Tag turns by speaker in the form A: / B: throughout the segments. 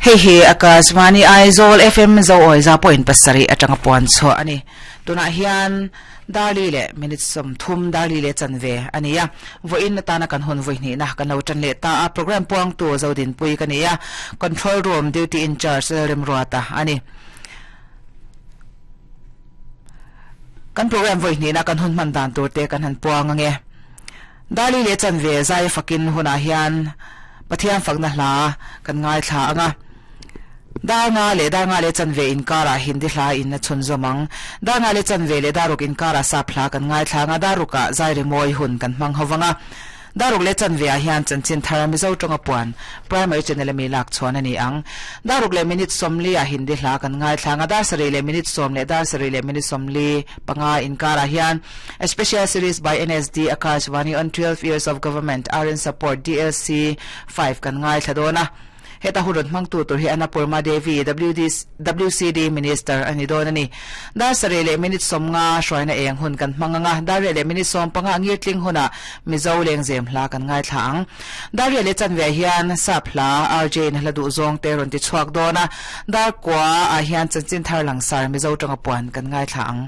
A: Hei hi Akashvani Aizawl FM Zo awi za point pasarih atanga puan chhuah a ni. Tunah hian Darli leh minute 30 Darli leh chanve a ni a. Vawiin atana kan hun vawi hnihna kan lo tan leh ta a. Program puangtu Zodinpui ka ni a. Control Room Duty in Charge Lalremruata a ni. Kan program vawi hnihna kan hun hman dan tur te kan han puang ange. Darli leh chanve zai fakin hunah hian Pathian fakna hla kan ngaithla ang a. Dar nga leh dar nga leh chanve inkarah Hindi hla in a chhunzawm ang. Dar nga leh chanve leh dar ruk inkarah sap hla kan ngaithla ang a, dar rukah zai rimawi hun kan hmang ho vang a. Dar ruk leh chanve ah hian chanchin thar Mizo tawnga puan Primary Channel ami lak chhuan a ni ang. Dar ruk leh minute 40 ah Hindi hla kan ngaithla ang a, dar sarih leh minute 10 leh dar sarih leh minute 45 inkarah hian A Special Series by NSD Akashvani on 12 Years of Government RN Support DLC 5 kan ngaithla dawn a. Heta hun rawn hmangtu tur hi Annapurna Devi, WCD Minister a ni dawn a ni. Dar sarih leh minute 50 hruaina eng hun kan hmang ang a, dar riah leh minute 15 ngirtling hunah Mizo lengzem hla kan ngaithla ang. Dar riah leh chanve hian Sap hla RJ in a hla duh zawng te rawn ti chhuak dawn a, dar kua ah hian chanchin thar langsar Mizo tanga puan kan ngaithla ang.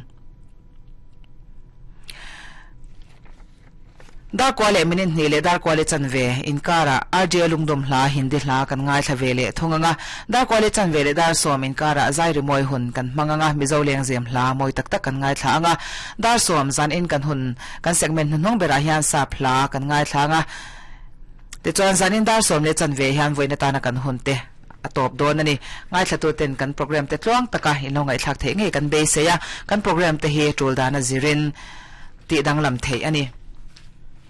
A: Dar kua leh minute hnih leh dar kua leh chanve inkarah RJ Lungdawm hla Hindi hla kan ngaithla ve leh thung ang a. Dar kua leh chanve leh dar 10 inkarah zai rimawi hun kan hmang ang a, Mizo lengzem hla mawi tak tak kan ngaithla ang a. Dar 10 zan in kan hun kan segment hnuhnung berah hian sap hla kan ngaithla ang a. Tichuan zan in dar 10 leh chanve hian vawiin atana kan hun te a tawp dawn a ni. Ngaithlatu ten kan program te tluang taka in lo ngaihthlak theih ngei kan beisei a, kan program te hi tul dana zirin tih danglam theih a ni.